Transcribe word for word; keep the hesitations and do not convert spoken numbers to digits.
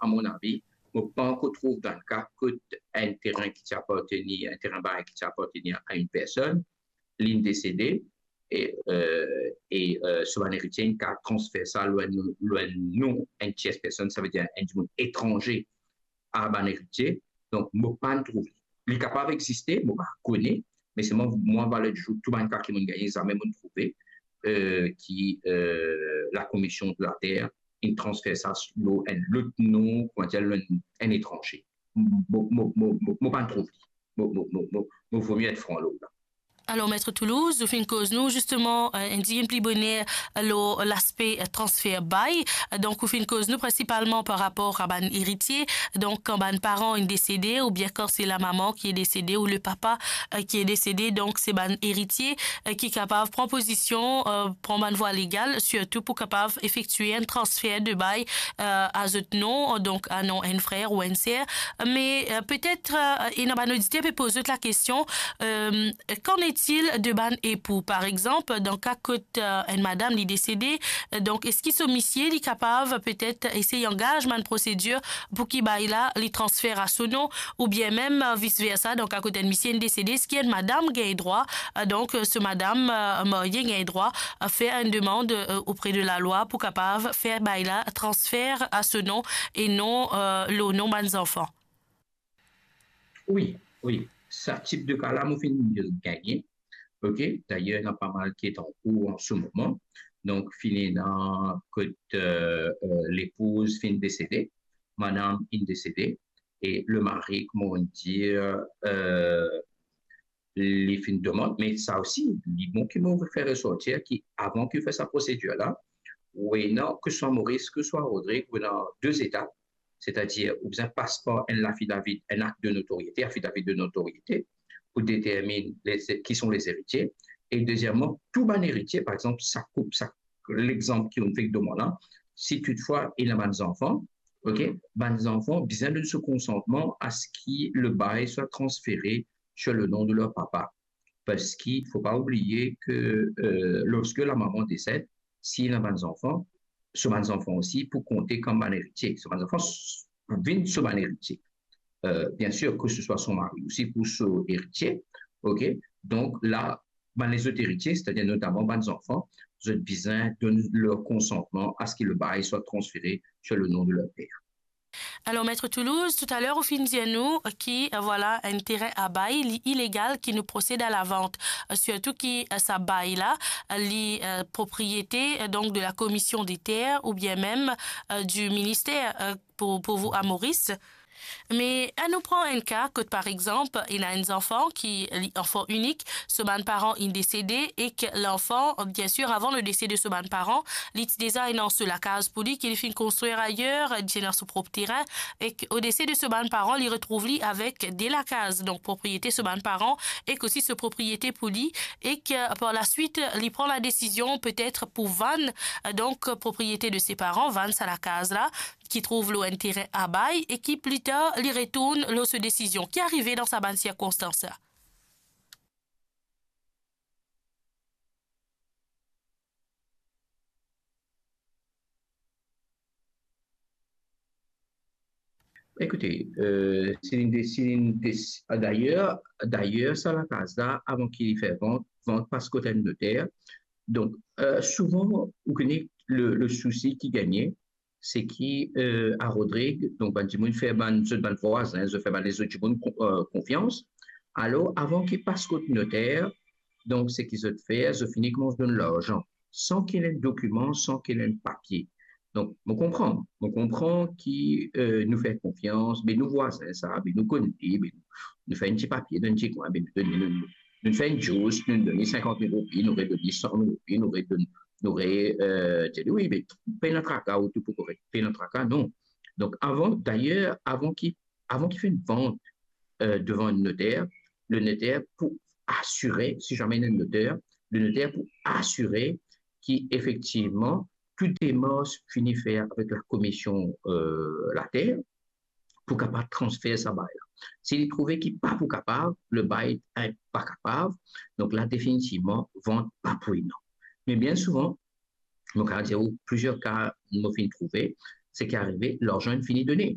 a mon avi, mo pa ankor trouv dan ka kot enn terin ki ti apartenir, enn terin bay ki ti apartenir a enn personn, linn desede, e, euh, e, euh, so bann eritie inn kav transfer sa lor enn, lor enn non enn tiers personn, savedir enn dimoun etranze a bann eritie. Donk, mo pa'nn trouv li. Li kapav existe, mo pa kone, me selman mwa, valer dizour, tou bann ka ki mo'nn gagne, zame mo'nn trouve, euh, ki, euh, la Commission de la Terre inn transfer sa lor enn lot non, koumadir, lor enn, enn etranze. Mo, mo, mo, mo, mo pa'nn trouv li. Mo, mo, mo, mo, mo vo mie et fran lor la. Alor, Maître Toulouse, ou finn koz nou, zisteman, euh, enn diziem pli boner, euh, lor laspe, euh, transfer bay. Euh, donk, ou finn koz nou prinsipalman par rapor a bann eritie. Donk, kan bann paran inn desede, oubien kan se lamama ki inn desede, ou lepapa, euh, ki inn desede, donk, se bann eritie, euh, ki kapav pran pozision, euh, pran bann vwa legal, sirtou pou kapav efektie enn transfer de bay, euh, a zot non, donk, a non enn frer ou enn ser. Me, euh, petet, euh, ena bann oditer pe poz zot lakestion, euh, qu'en est-il de bann epou? Par exanp, dan ka kot, euh, enn madam li desede, euh, donk, eski so misie li kapav petet esey angaz bann prosedir pou ki bay la li transfer a so non, oubien mem, euh, vis versa, dan ka kot enn misie inn desede, eski enn madam gagn drwa, euh, donk, euh, so madam, euh, marie gagn drwa, euh, fer enn demann, euh, opre de lalwa pou kapav fer bay la transfer a so non e non, euh, lor non bann zanfan? Wi, wi. Sa tip de ka la, mo finn gagne. Ok, dayer, ena pa mal ki est en cours en ce moment. Donk, finn ena kot, euh, euh, lepouz finn desede, madam inn desede, e lemari, kouma on dir, euh, li finn demann, me sa osi, li bon ki mo fer resortir ki avan ki ou fer sa prosedir la, ou ena, ke swa Moris, ke swa Rodrig, ou ena de etap, setadir ou bizin pas par enn lafidavi, enn akt de notoriete, afidavi de notoriete, pou determinn les, ki son les eritie. E dezieman, tou bann eritie, par exanp, sa koup, sa, lexanp ki ou fek donn mwa la, si toutfwa ena bann zanfan, ok, bann zanfan bizin donn so konsantman a se ki le bay swa transfere sur le nom de leur papa. Parski fo pa oubliye ke, euh, lorske lamama desed, si ena bann zanfan, so bann zanfan osi pou konte kom bann eritie. So bann zanfan s-, pou vinn so bann eritie. Euh, bien sir, ke se swa so mari osi pou so eritie. Ok? Donk la, bann lezot eritie, setadir notaman bann zanfan, zot bizin donn ler konsantman a se ki le bay swa transfere sur le nom de leur père. Alor, Maître Toulouse, toutaler ou finn dir nou ki, euh, vwala, enn terin a bay, li ilegal ki nou prosed a lavant. Euh, sirtou ki, euh, sa bay la, euh, li, euh, propriete, euh, donk de la Commission des Terres oubien mem, euh, du ministère, euh, pou, pou vou a Moris. Me anou pran enn ka kot, par exanp, ena enn zanfan ki, li, anfan inik, so bann paran inn desede ek lanfan, bien sir, avan le dese de so bann paran, li ti deza ena so lakaz pou li ki li finn konstrir ayer, li ti ena so prop terin, ek o dese de so bann paran, li retrouv li avek de lakaz, donk propriete so bann paran, ek osi so propriete pou li, ek, euh, par laswit, li pran la desizion petet pou vann, euh, donk, propriete de se paran, vann sa lakaz la, ki trouv lor enn terin a bay e ki pli tar li retourn lor so desizion. Ki arive dan sa bann sirkonstans la? Ekoute, euh, si li de-, si li de-, ah, dayer, dayer, sa lakaz la, avan ki li fer vant, vant pas kot enn noter. Donk, euh, souvan, ou kone le, le sousi ki gagne, se ki, euh, a Rodrig, donk bann dimoun fer bann, zot bann vwazin, zot fer bann lezot dimoun kon-, euh, konfians. Alor, avan ki pas kot noter, donk seki zot fer, zot fini koumans donn larzan, san ki ena enn dokiman, san ki ena enn papie. Donk, mo konpran, mo konpran ki, euh, nou fer konfians, be nou vwazin sa, be nou konn li, be nou, nou fer enn ti papie dan enn ti kwin, be nou donn li, nou, nou fer enn dous, nou donn li sinkant mil roupi, nou redonn li san mil roupi, nou redonn, nou re-, euh, dir li, wi, be pena traka, ou tou pou korek, pena traka, non. Donk, avan, dayer, avan ki, avan ki finn vant, euh, devan enn noter, le noter pou asire, si zame enn noter, le noter pou asire ki efektivman tou demars fini fer avek la Commission, euh, la Terre, pou kapav transfer sa bay la. Si li trouve ki pa pou kapav, le bay, eh, pa kapav, donk la definitivman, vant pa pou ena. Me bien souvan, mo kapav dir ou plizier ka mo finn trouve, seki arive, larzan inn fini done.